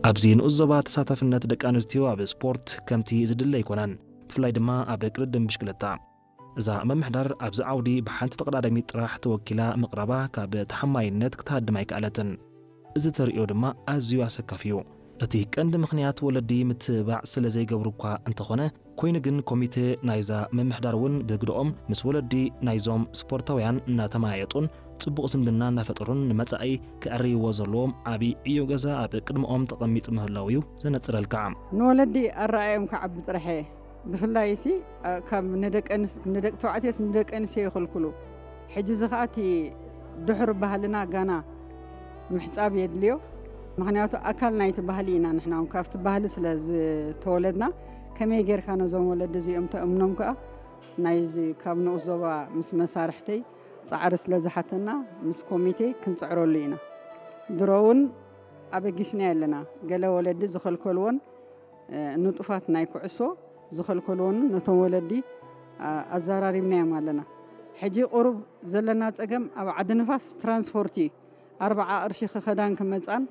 ኣብዚ ንኡስ ዞባ ተሳታፍነት ደቂ ኣንስትዮ ኣብ ስፖርት ከምቲ ዝድለ ኣይኮነን፣ ብፍላይ ድማ ኣብ ቅድድም ብሽክለታ። እዛ ምምሕዳር ኣብዚ ዓውዲ ብሓንቲ ተቐዳዳሚት ጥራሕ ተወኪላ ምቕራባ ካብ ተሓማይነት ክትሃድም ኣይከኣለትን። እዚ ተርእዮ ድማ ኣዝዩ ኣሰካፊ እዩ። እቲ ቀንዲ ምኽንያት ወለዲ ምትብባዕ ስለ ዘይገብሩ እኳ እንተኾነ፣ ኮይኑ ግን ኮሚቴ ናይዛ ምምሕዳር እውን ብግደኦም ምስ ወለዲ ናይዞም ስፖርታውያን እናተመያየጡን ጽቡቕ ዝምድና እናፈጠሩን ንመጻኢ ከዕርይዎ ዘለዎም ዓቢ ዕዮ ገዛ ኣብ ቅድመኦም ተቐሚጡ ምህላው እዩ ዘነጽረልካ። ንወለዲ ኣረኣዮም ክዓቢ ጥራሕ እየ። ብፍላይ ሲ፣ እ፣ ካብ ንደቂ ኣንስ-፣ ንደቂ ተባዕትዮስ ንደቂ ኣንስትዮ ይኽልክሉ። ሕጂ እዚ ኸኣ እቲ ድሑር ባህልና ጋና ምሕጻብ የድልዮ። ምኽንያቱ ኣካል ናይቲ ባህሊ ኢና ንሕና እውን ካብቲ ባህሊ ስለ ዝተወለድና፣ ከመይ ጌርካ ነዞም ወለዲ እዚኦም ተእምኖም ከኣ ናይዚ ካብ ንኡስ ዞባ ምስ መሳርሕተይ ጻዕሪ ስለ ዝሓተና ምስ ኮሚቴ ክንጽዕረሉ ኢና። ድሮ እውን ኣበጊስና ኣለና። ገለ ወለዲ ዝኸልከልዎን፣ እ፣ ንጡፋት ናይ ኩዕሶ ዝኸልከልዎን ነቶም ወለዲ፣ ኣ-፣ ኣዘራሪብናዮም ኣለና። ሕጂ ቁሩብ ዘለና ጸገም ኣብ ዓዲ ንፋስ ትራንስፖርት እዩ። ኣርብዓ ቅርሺ ክኸዳን ክመጻን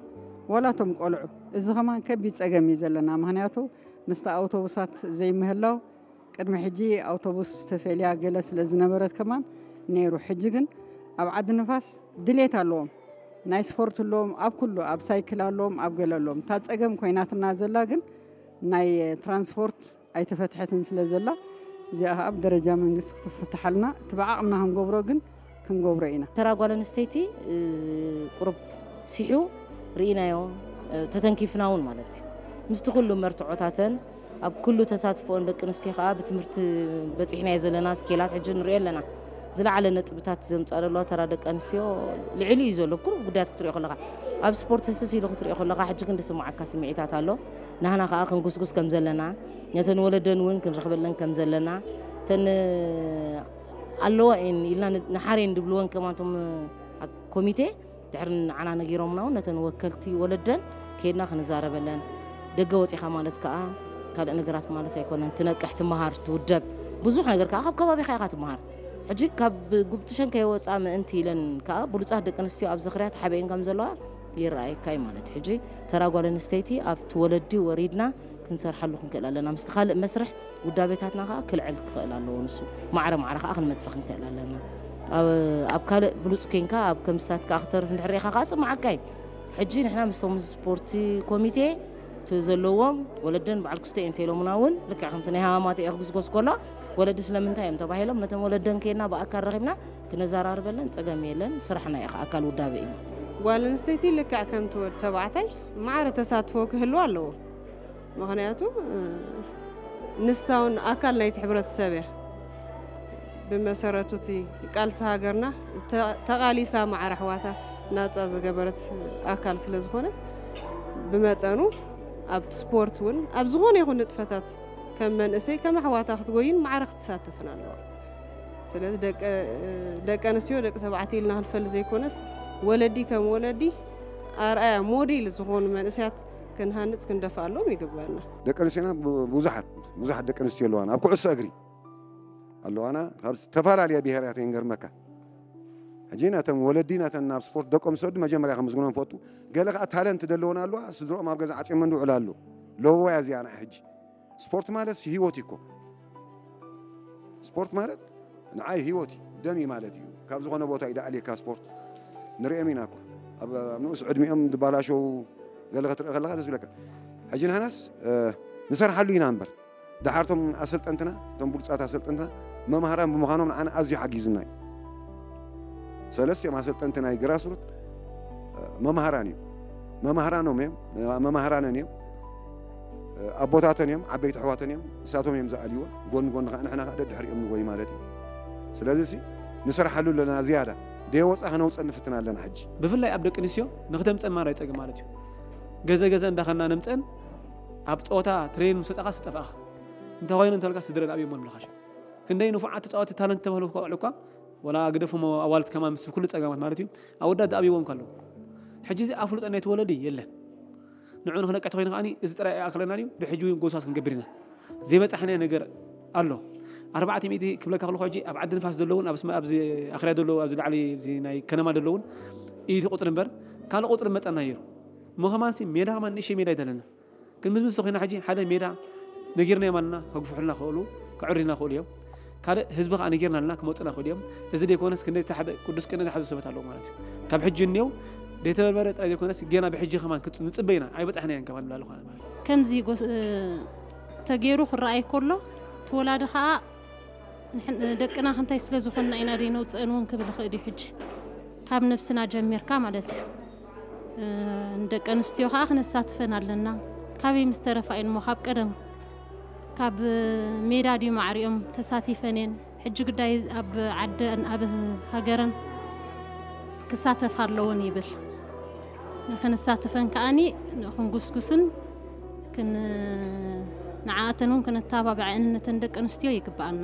ዋላ እቶም ቆልዑ። እዚ ከማን ከቢድ ጸገም እዩ ዘለና። ምኽንያቱ ምስቲ ኣውቶቡሳት ዘይምህላው ቅድሚ ሕጂ ኣውቶቡስ ተፈልያ ገለ ስለ ዝነበረት ከማን ነይሩ። ሕጂ ግን ኣብ ዓዲ ንፋስ ድሌት ኣለዎም። ናይ ስፖርት ኣለዎም፣ ኣብ ኩሉ፣ ኣብ ሳይክል ኣለዎም፣ ኣብ ገለ ኣለዎም። እታ ጸገም ኮይናትና ዘላ ግን ናይ ትራንስፖርት ኣይተፈትሐትን ስለ ዘላ፣ እዚኣ ኸኣ ብደረጃ መንግስቲ ክትፍትሓልና፣ እቲ ብዓቕምና ክንገብሮ ግን ክንገብሮ ኢና። ተራ ጓል ኣንስተይቲ፣ እ፣ ቁሩብ ሲሑ ርኢናዮ፣ እ፣ ተተንኪፍና እውን ማለት እዩ። ምስቲ ኩሉ መርትዖታተን ኣብ ኩሉ ተሳትፎን ደቂ ኣንስትዮ ከኣ ብትምህርቲ በጺሕናዮ ዘለና ስኬላት ሕጂ ንሪኦ ኣለና። ዝለዓለ ነጥብታት ዘምጽኣ ዘለዋ ተራ ደቂ ኣንስትዮ ልዕሊ እዩ ዘሎ። ኩሉ ጉዳያት ክትሪኦ ከለኻ፣ ኣብ ስፖርት ህስስ ኢሉ ክትሪኦ ከለኻ፣ ሕጂ ግን ዝስምዓካ ስምዒታት ኣሎ። ናህና ከኣ ክንጉስጉስ ከም ዘለና፣ ነተን ወለደን እውን ክንረኽበለን ከም ዘለና፣ እተን ኣለዋ እየን ኢልና ን-፣ ንሓረየን ድብልወን ከማን እቶም፣ እ፣ ኮሚቴ ድሕሪ ንዓና ነጊሮምና እውን ነተን ወከልቲ ወለደን ከይድና ክንዛረበለን፣ ደገ ወጺኻ ማለት ከኣ ካልእ ነገራት ማለት ኣይኮነን። ትነቅሕ፣ ትመሃር፣ ትውደብ። ብዙሕ ነገር ከኣ ካብ ከባቢኻ ኢኻ ትመሃር። ሕጂ ካብ ጉብጥሸን ከይወጻ ምእንቲ ኢለን ከኣ ብሉጻት ደቂ ኣንስትዮ ኣብ ዝኽርያ ተሓቢአን ከም ዘለዋ ይረኣየካ እዩ ማለት እዩ። ሕጂ ተራ ጓል ኣንስተይቲ ኣብቲ ወለዲ ወሪድና ክንሰርሓሉ ክንክእል ኣለና። ምስቲ ካልእ መስርሕ ውዳቤታትና ከኣ ክልዕል ክኽእል ኣለዎ። ንሱ ማዕረ ማዕረ ከኣ ክንመጽእ ክንክእል ኣለና። ኣብ፣ ኣብ ካልእ ብሉጽ ኮንካ ኣብ ከም ስታት ከኣ ክተርፍ እንድሕር ርኢኻ ከኣ ጽማዓካ እዩ። ሕጂ ንሕና ምስቶም ስፖርቲ ኮሚቴ እቲ ዘለዎም ወለደን በዓል ክስቶ እየ እንተ ኢሎምና እውን ልክዕ ከምቲ ናይ ሃማማተ እየ ክጉስጎስ ከሎ ወለዲ ስለምንታይ እዮም ተባሂሎም ነተን ወለደን ከይድና ብኣካል ረኺብና ክነዘራርበለን ጸገም የለን። ስራሕና እዩ ከኣ ኣካል ውዳቤ እዩ። ጓል ኣንስተይቲ ልክዕ ከምቲ ወዲ ተባዕታይ ማዕረ ተሳትፎ ክህልዋ ኣለዎ። ምኽንያቱ፣ እ፣ ንሳ እውን ኣካል ናይቲ ሕብረተሰብ እያ። ብመሰረቱ እቲ ቃልሲ ሃገርና ተ-፣ ተቓሊሳ ማዕረ ኣሕዋታ ናጻ ዝገበረት ኣካል ስለ ዝኾነት፣ ብመጠኑ ኣብ ስፖርት እውን ኣብ ዝኾነ ይኹን ንጥፈታት ከም መንእሰይ ከም ኣሕዋታ ክትጎይን ማዕረ ክትሳተፍን ኣለዋ። ስለዚ ደቂ፣ ደቂ ኣንስትዮ ደቂ ተባዕትዮ ኢልና ክንፈሊ ዘይኮነስ፣ ወለዲ ከም ወለዲ ኣርኣያ ሞዴል ዝኾኑ መንእሰያት ክንሃንጽ ክንደፍኣሎም ይግባና። ደቂ ኣንስትዮና ብ-፣ ብዙሓት፣ ብዙሓት ደቂ ኣንስትዮ ኣለዋና። ኣብ ኩዕሶ እግሪ ኣለዋና። ካብ ዝተፈላለያ ብሄራት እየን ገርመካ። ሕጂ ናተን ወለዲ ናተን ናብ ስፖርት ደቆም ዝሰዱ መጀመርያ ከምዝግኖም ፈቱ። ገለ ከኣ ታለንት ዘለወን ኣለዋ። ስድሮኦም ኣብ ገዛ ዓጽዮመን ዝውዕላ ኣሎ። ለወያ እዚኣ ንዓ ሕጂ። ስፖርት ማለት ህይወት እዩ እኮ። ስፖርት ማለት ንዓይ ህይወት እዩ፣ ደም እዩ ማለት እዩ። ካብ ዝኾነ ቦታ እዩ ደኣልየካ ስፖርት። ንርእዮም ኢና እኮ። ኣብ፣ ኣብ ንኡስ ዕድሚኦም ዝባላሸው ገለ ክትርኢ ከለኻ ደስ ይብለካ። ሕጂ ንሕናስ፣ እ፣ ንሰርሓሉ ኢና እምበር። ደሓር እቶም ኣሰልጠንትና፣ እቶም ብሉጻት ኣሰልጠንትና መምሃራን ብምዃኖም ንዓና ኣዝዩ ሓጊዝና እዩ። ሰለስቲኦም ኣሰልጠንቲ ናይ ግራስሩት፣ እ፣ መምሃራን እዮም። መማህራኖም እዮም፣ መማህራነን እዮም። ኣቦታተን እዮም፣ ዓበይቲ ኣሕዋተን እዮም፣ ንሳቶም እዮም ዝኣልይዎ። ጎኒ ጎኒ ከኣ ንሕና ከኣ ደድሕሪኦም ንጎይ ማለት እዩ። ስለዚ ሲ ንሰርሓሉ ኣለና ዝያዳ። ደየወጻ ከነውጸእ ንፍትን ኣለና ሕጂ። ብፍላይ ኣብ ደቂ ኣንስትዮ ንክተምጸን ማራ ይጸግም ማለት እዩ። ገዘ ገዘ እንዳኸና ነምጸን ኣብ ጸወታ ትሬን ምስ ወጻኻ ስጠፍኣኻ። እንተኾይኑ እንተልካ ስድረን ኣብዮም ምልኻሾ። ክንደይ ንፉዓት ተጻወቲ ታለንት ተባህሉ ቆልዑ እኳ ወላ ግደፎም ኣዋልድ ከማን ምስ ኩሉ ጸገማት ማለት እዩ። ኣወዳት ዝኣብይዎም ከለዉ። ሕጂ እዚ ኣፍልጦ ናይቲ ወለዲ የለን። ንዑ ንኽነቅሕ ተኾይኑ ከኣኒ እዚ ጥራይ ኣይኣክለና ድዩ? ብሕጂ እውን ጎስጓስ ክንገብር ኢና። ዘይበጻሕናዮ ነገር ኣሎ። ኣርባዕተ ሚእቲ ክብለካ ከለኹ ሕጂ ኣብ ዓዲ ንፋስ ዘለውን ኣብ ስመ-፣ ኣብዚ ኣኽርያ ዘለዉ ኣብዚ ላዕሊ ኣብዚ ናይ ከነማ ዘለውን ኢቲ ቁጽሪ እምበር ካልእ ቁጽሪ መጸና ነይሩ። እሞ ከማንሲ ሜዳ ከማን ንእሽተይ ሜዳ ኣይደለና። ግን ምስ ምስ ኮይና ሕጂ ሓደ ሜዳ ነጊርናዮም ኣለና፣ ከግፍሑልና ክእሉ፣ ከዕርዩና ክእሉ እዮም። ካልእ ህዝቢ ከዓ ነጊርና ኣለና፣ ክመፁና ክእሉ እዮም። እዚ ዘይኮነስ ክንደይ ዝተሓበ ቅዱስ ቅነ ዝሓዙ ሰባት ኣለዉ ማለት እዩ። ካብ ሕጂ እኒው ደይተበርበረ ጥራይ ዘይኮነስ ገና ብሕጂ ከማን ክፅ- ንፅበይና ኣይበፃሕናዮን ከማን ንብላ ኣለኹ ኣነ ማለት እዩ። ከምዚ ጎስ- እ፣ ተገይሩ ክረኣይ ከሎ እቲ ወላዲ ከዓ ንሕን- ደቅና ክንታይ ስለ ዝኾንና ኢና ደይነውፅአን እውን ክብል ይኽእል እዩ። ሕጂ ካብ ነብስና ጀሚርካ ማለት እዩ። እ፣ ንደቂ ኣንስትዮ ከዓ ክነሳትፈን ኣለና። ካበይ ምስ ተረፋ እየን እሞ ካብ ቀደም ካብ ሜዳ ድዩ ማዕሪኦም ተሳቲፈን እየን። ሕጂ ጉዳይ ኣብ ዓደን ኣብ ሃገረን ክሳተፍ ኣለውን ይብል። ንክንሳተፈን ከዓኒ ክንጉስጉስን ክን ንዓኣተን እውን ክነተባብዐን ነተን ደቂ ኣንስትዮ ይግብኣና።